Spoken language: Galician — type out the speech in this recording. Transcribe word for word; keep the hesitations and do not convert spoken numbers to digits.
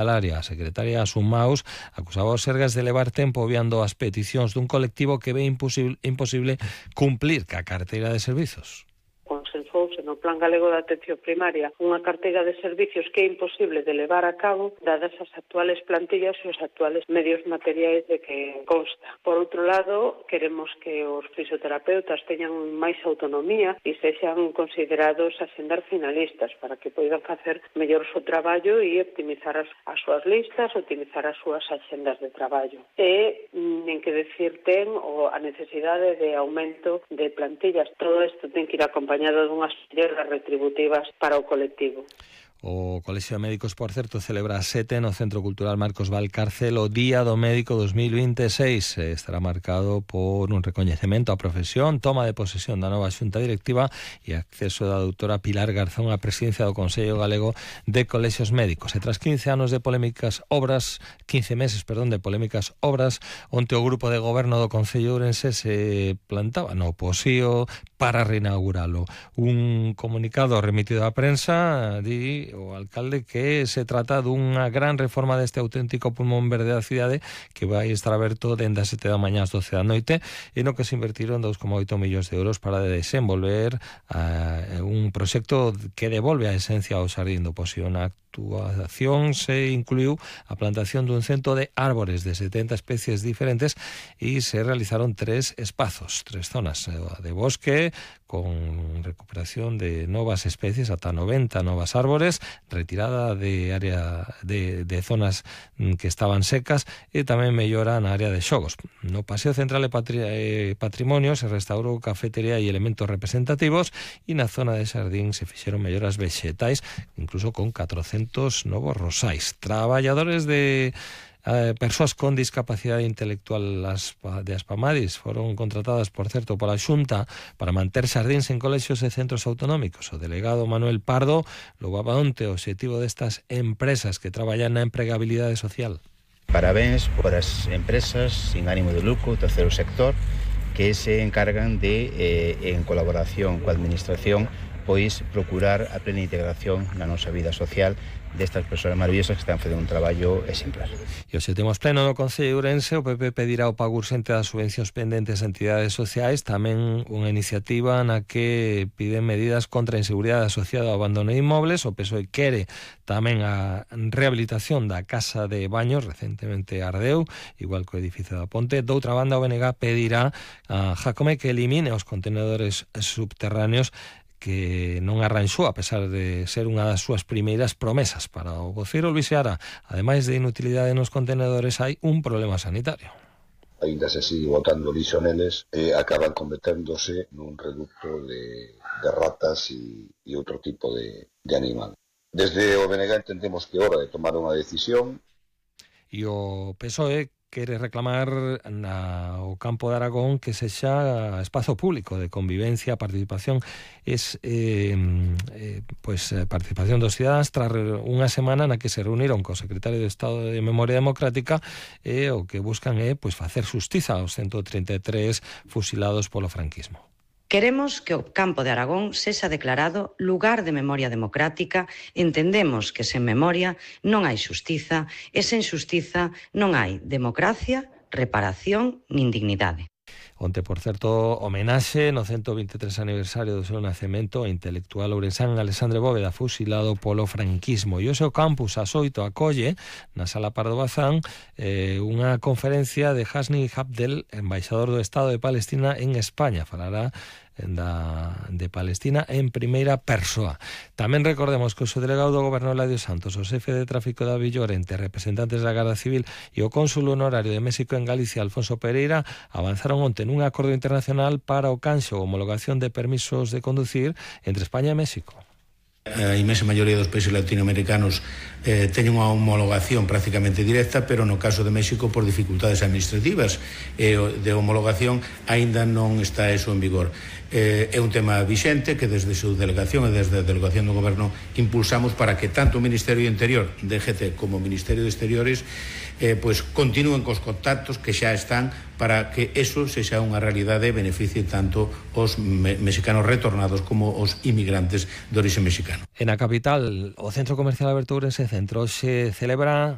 A secretaria Asun Maus acusaba os Sergas de levar tempo obviando as peticións dun colectivo que ve imposible, imposible cumplir ca carteira de servizos. Consensouse no Plan Galego de Atención Primaria unha carteira de servicios que é imposible de levar a cabo dadas as actuales plantillas e os actuales medios materiais de que consta. Por outro lado, queremos que os fisioterapeutas teñan máis autonomía e sexan considerados asendar finalistas para que poidan facer mellor o seu traballo e optimizar as, as súas listas, optimizar as súas axendas de traballo. E nin que decir ten o a necesidade de aumento de plantillas. Todo isto ten que ir acompañado dunhas melloras retributivas para o colectivo. O Colexio de Médicos, por certo, celebra a sete no Centro Cultural Marcos Valcárcel o Día do Médico dos mil veintiséis. Estará marcado por un recoñecemento á profesión, toma de posesión da nova xunta directiva e acceso da doutora Pilar Garzón á presidencia do Consello Galego de Colexios Médicos. E tras quince anos de polémicas obras, quince meses, perdón, de polémicas obras, onte o grupo de goberno do Concello de Ourense se plantaba no Posío para reinauguralo. Un comunicado remitido á prensa di o alcalde que se trata dunha gran reforma deste auténtico pulmón verde da cidade que vai estar aberto dende as sete da mañá ás doce da noite e no que se invertiron dous coma oito millóns de euros para desenvolver uh, un proxecto que devolve a esencia ao xardín do Posío. Na actuación se incluiu a plantación dun cento de árbores de setenta especies diferentes e se realizaron tres espazos, tres zonas de bosque con recuperación de novas especies, ata noventa novas árbores, retirada de área de, de zonas que estaban secas e tamén mellora na área de xogos. No Paseo Central de Patri eh, Patrimonio se restaurou cafetería e elementos representativos e na zona de xardín se fixeron melloras vexetais, incluso con catrocentos novos rosais. Traballadores de Eh, persoas con discapacidade intelectual de Aspamadis foron contratadas, por certo, pola Xunta para manter xardíns en colexios e centros autonómicos. O delegado Manuel Pardo louvaba onte o obxectivo destas empresas que traballan na empregabilidade social. Parabéns por as empresas sin ánimo de lucro, terceiro sector, que se encargan de, eh, en colaboración coa administración, pois procurar a plena integración na nosa vida social destas persoas maravillosas que están facendo un traballo exemplar. E hoxe temos pleno no Concello de Ourense. O P P pedirá o pago urxente das subvencións pendentes a entidades sociais, tamén unha iniciativa na que piden medidas contra a inseguridade asociada ao abandono de inmobles. O P S O E quere tamén a rehabilitación da casa de baños, recentemente ardeu, igual que o edificio da Ponte. Doutra banda, o B N G pedirá a Jacome que elimine os contenedores subterráneos que non arranxou, a pesar de ser unha das súas primeiras promesas. Para o voceiro Luis Seara, ademais de inutilidade nos contenedores, hai un problema sanitario. Ainda se sigue botando lixo neles e acaban converténdose nun reducto de, de ratas e, e outro tipo de, de animal. Desde o B N G entendemos que é hora de tomar unha decisión. E o P S O E quere reclamar na, o campo de Aragón que sexa espazo público de convivencia, participación, es eh, eh, pues, participación dos cidadáns tras unha semana na que se reuniron co secretario de Estado de Memoria Democrática e eh, o que buscan é eh, pues, facer xustiza aos ciento trinta e tres fusilados polo franquismo. Queremos que o campo de Aragón sexa declarado lugar de memoria democrática. Entendemos que sen memoria non hai xustiza e sen xustiza non hai democracia, reparación nin dignidade. Onte, por certo, homenaxe no ciento vinte e tres aniversario do seu nacemento ao intelectual ourensán Alexandre Bóveda, fusilado polo franquismo. E o seu campus ás oito acolle na Sala Pardo Bazán eh, unha conferencia de Hasni Abdel, embaixador do Estado de Palestina en España. Falará da, de Palestina en primeira persoa. Tamén recordemos que o subdelegado do Goberno Eladio Santos, o xefe de tráfico da Villorente, representantes da Garda Civil e o cónsul honorario de México en Galicia, Alfonso Pereira, avanzaron onte nun acordo internacional para o canxo ou homologación de permisos de conducir entre España e México. A imensa maioría dos países latinoamericanos eh, teñen unha homologación prácticamente directa, pero no caso de México por dificultades administrativas e eh, de homologación aínda non está eso en vigor. Eh, é un tema vixente que desde a súa delegación e desde a delegación do Goberno impulsamos para que tanto o Ministerio de Interior, D G T, como o Ministerio de Exteriores eh, pues, continúen cos contactos que xa están para que eso sexa unha realidade e beneficie tanto os me mexicanos retornados como os inmigrantes de orixe mexicano. En a capital, o Centro Comercial Alberto Ourense Centro se celebra